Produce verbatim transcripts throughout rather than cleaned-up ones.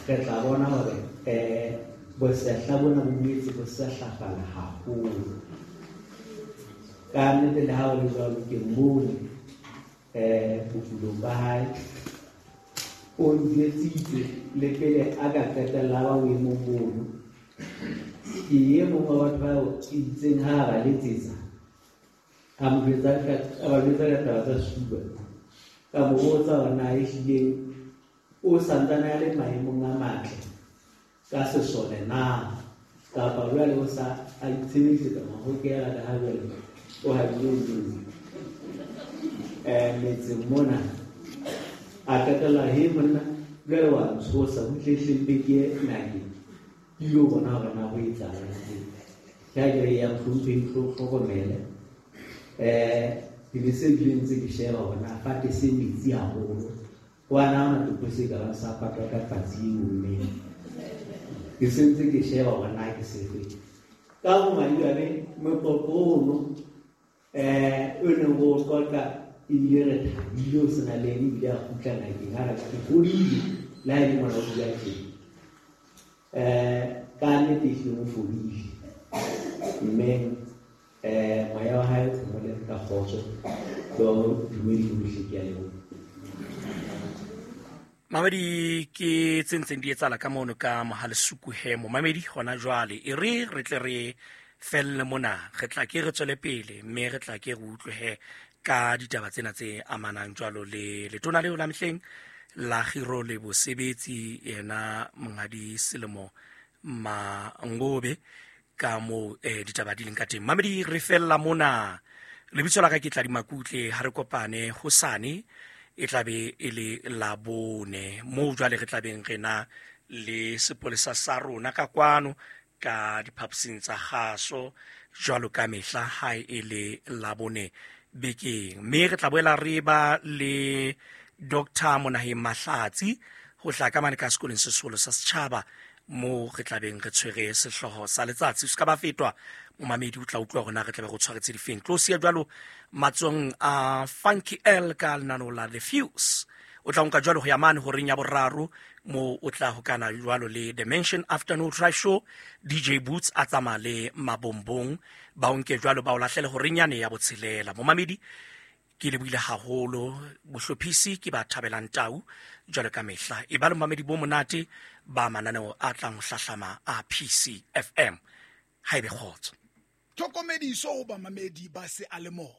Re tla bona hore um bosehla bona bo boetse bo sehlafala haholo. Ka nnete le ha ho le jwalo ke mmone um bokulong ba hae o njwetsitse le pele a ka qetella ba boemong bono. Ke e mong wa batho bao itseng ha a ba letsetsa a mo jwetsa ka a ba jwetsa ka taba tsa sefuba. Ka mo botsa hore na ehlileng o santsane a le maemong a matle ka sesole na kapa jwale o sa a itshebedisetsa mahokela ka ha jwale o habile moo um metseng mona. A qetella he monna jwale wa ntshosa butle mpe ke ye ngakeng ke ilo bona hore na ho etsahalang. Ke ha ke re ya mohlomphehi hlokomele um ke be se bile ntse ke sheba hore na fate se metsi haholo wa na hona topo se ka bang sa patwa ka patsi e ommeng. Ke se ntse ke sheba hore na ke sefe. Ka bomadimabe moqoqo ono um o neng o qoqa ebile re thabile o sena le ene ebile a kgutla ngakeng a re ke fodile le ha e le mona o bua tjena. Um ka nnete ehlile o fodile mme um moya wa hae o phomole ka kgotso. Ke wa dumedi bohle, ke a leboha. Mamedi ke tse ntseng di etsahala ka mono ka Mohalesuku he momamedi hona jwale e re re tle re felle mona re tla ke re tswele pele mme re tla ke re utlwe he ka ditaba tsena tse amanang jwalo le letona leo la mehleng la kgiro le bosebetsi yena monghadi Selemo Mangobe ka moo eh, ditaba di leng ka teng. Mamedi re fella mona. Lebitso la ka ke Tladi Makutle, ha re kopane hosane e tla be e le Labone moo jwale re tla beng re na le sepolesa sa rona ka kwano ka diphaposing tsa kgaso jwalo ka mehla ha e le Labone bekeng. Mme re tla boela re ba le Doctor Monaheng Mahlatsi ho tla ka mane ka sekolong se seholo sa setjhaba moo re tla beng re tshwere sehlooho sa letsatsi. Se ka ba fetwa momamedi o tla utlwa hore na re tla be re tshwaretse difeng. Tlo siya jwalo matsohong a Funky L ka lenaneo la The Fuse. O tla nka jwalo ho ya mane horeng ya boraro moo o tla hokana jwalo le Dimension Afternoon Drive Show. D J Boots a tsamaya le Mabombong ba o nke jwalo ba o lahlele horeng yane ya botshelela. Momamedi ke lebohile haholo bohlophisi ke ba thabelang tau jwalo ka mehla. E ba le momamedi bo monate ba mananeo a tlang ho hlahlama a P C F M. Ha ebe kgotso. Tlhokomediso ho bamamedi ba seyalemoya.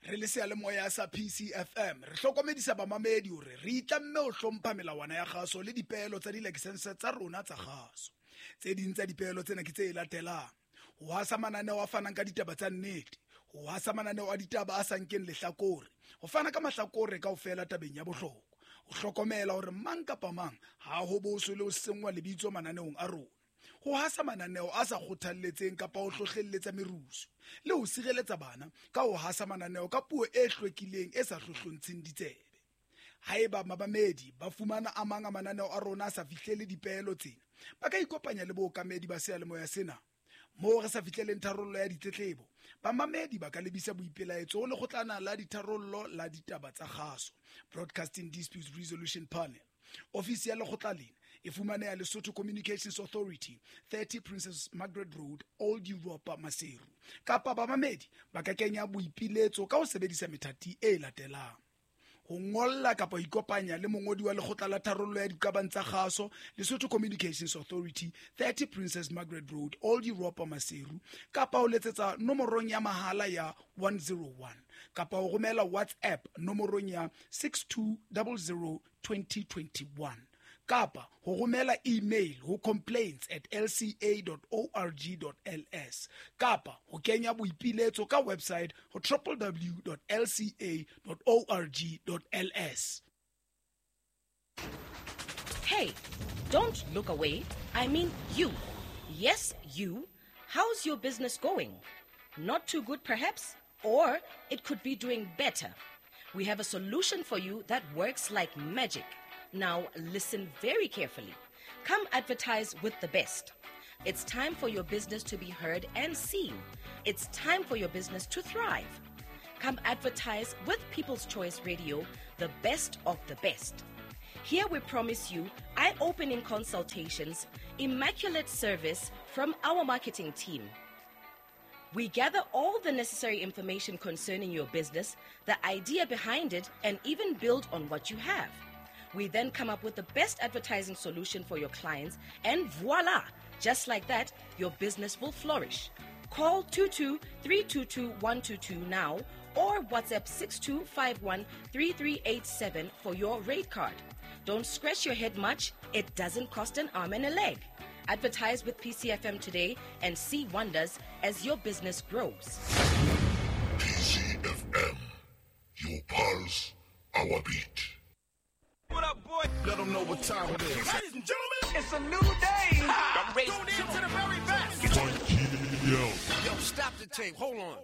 Re le seyalemoya sa P C F M re hlokomedisa bamamedi hore re itlamme ho hlompha melawana ya kgaso le dipeelo tsa dilakesense tsa rona tsa kgaso. Tse ding tsa dipeelo tsena ke tse latelang: ho hasa mananeo a fanang ka ditaba tsa nnete, ho hasa mananeo a ditaba a sa nkeng lehlakore, ho fana ka mahlakore kaofela tabeng ya bohlokwa, ho hlokomela hore mang kapa mang ha ho boswe le ho senngwa lebitso mananeong a rona, ho hasa mananeo a sa kgothalletseng kapa ho hlohlelletsa merusu, le ho sireletsa bana ka ho hasa mananeo ka puo e hlwekileng e sa hlohlontsheng ditsebe. Haeba mabamedi ba fumana a mang a mananeo a rona a sa fihlele dipeelo tsena, ba ka ikopanya le bookamedi ba seyalemoya sena. Moo re sa fihleleng tharollo ya ditletlebo, bamamedi ba ka lebisa boipelaetso ho lekgotlana la ditharollo la ditaba tsa kgaso, Broadcasting Disputes Resolution Panel. Ofisi ya lekgotla lena e fumaneha Lesotho Communications Authority, thirty Princess Margaret Road, Old Europa, Maseru. Kapa bamamedi ba ka kenya boipiletso ka ho sebedisa methati e latelang: ho ngolla kapa ho ikopanya le mongodi wa lekgotla la tharollo ya diqabang tsa kgaso, Lesotho Communications Authority, thirty Princess Margaret Road, Old Europa, Maseru, kapa ho letsetsa nomorong ya mahala ya one zero one, kapa ho romela WhatsApp nomorong ya six two zero zero twenty twenty-one, kapa ho romela email ho complaints at l c a dot org dot l s, kapa ho kenya boipiletso ka website ho w w w dot l c a dot org dot l s. Hey, don't look away. I mean you. Yes, you. How's your business going? Not too good, perhaps? Or it could be doing better. We have a solution for you that works like magic. Now, listen very carefully. Come advertise with the best. It's time for your business to be heard and seen. It's time for your business to thrive. Come advertise with People's Choice Radio, the best of the best. Here we promise you eye-opening consultations, immaculate service from our marketing team. We gather all the necessary information concerning your business, the idea behind it, and even build on what you have. We then come up with the best advertising solution for your clients, and voila! Just like that, your business will flourish. Call two two three two two one two two now or WhatsApp six two five one three three eight seven for your rate card. Don't scratch your head much. It doesn't cost an arm and a leg. Advertise with P C F M today and see wonders as your business grows. P C F M, your pulse, our beat. What up, boy? Let them know what time it is. Ladies and gentlemen, it's a new day. Ha! I'm ready. Tune in to the very best. Yo. Yo, stop the tape. Hold on.